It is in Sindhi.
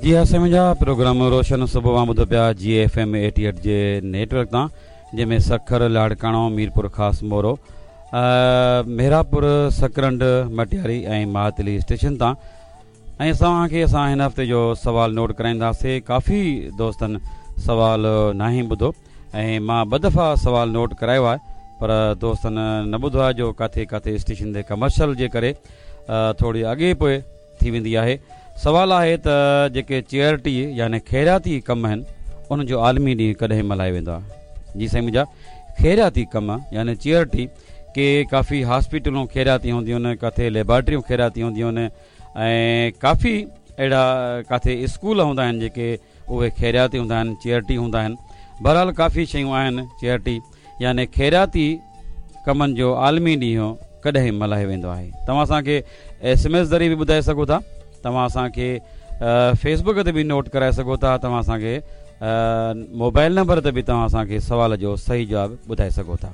جي ها سائين منهنجا پروگرام روشن صبح اوهان ٻڌو پيا جي ايف ايم 88 جي نيٽ ورڪ تان جنهن ۾ سکر لاڙڪاڻو ميرپور خاص مورو محرابپور سڪرنڊ مٽياري ۽ ماتلي اسٽيشن تان ۽ اسان اوهان کي اسان هن هفتي جو سوال نوٽ ڪرائينداسي ڪافي دوستن سوال ناهي ٻڌو ۽ مان ٻه دفعا سوال نوٽ ڪرايو آهي پر دوستن نه ٻڌو آهي جو ڪاٿي ڪاٿي اسٽيشن تي ڪمرشل جي ڪري ٿوري اڳي پوء ٿي ويندي آهي سوال آهي ته جيڪي چيئرٽي يعني خيراتي ڪم آهن انهن جو عالمي ڏينهن ڪڏهن ملهايو ويندو آهي جي سائين منهنجا خيراتي ڪم يعني چيئرٽي ڪي ڪافي هاسپيٽلون خيراتي هونديون آهن ڪاٿي ليبارٽريون خيراتي هونديون آهن ۽ ڪافي اهڙا ڪاٿي اسڪول هوندا آهن جيڪي اهي خيراتي هوندا آهن چيئرٽي هوندا آهن بهرحال ڪافي شيون آهن چيئرٽي يعني خيراتي ڪمن جو عالمي ڏينهن ڪڏهن ملهايو ويندو آهي توهان اسان کي ايس ايم ايس ذريعي به ٻڌائي سگهو ٿا توهان اسان کي فيسبوڪ تي به نوٽ ڪرائي سگهو ٿا توهان اسان کي موبائل نمبر تي به توهان اسان کي سوال جو صحيح جواب ٻڌائي سگهو ٿا.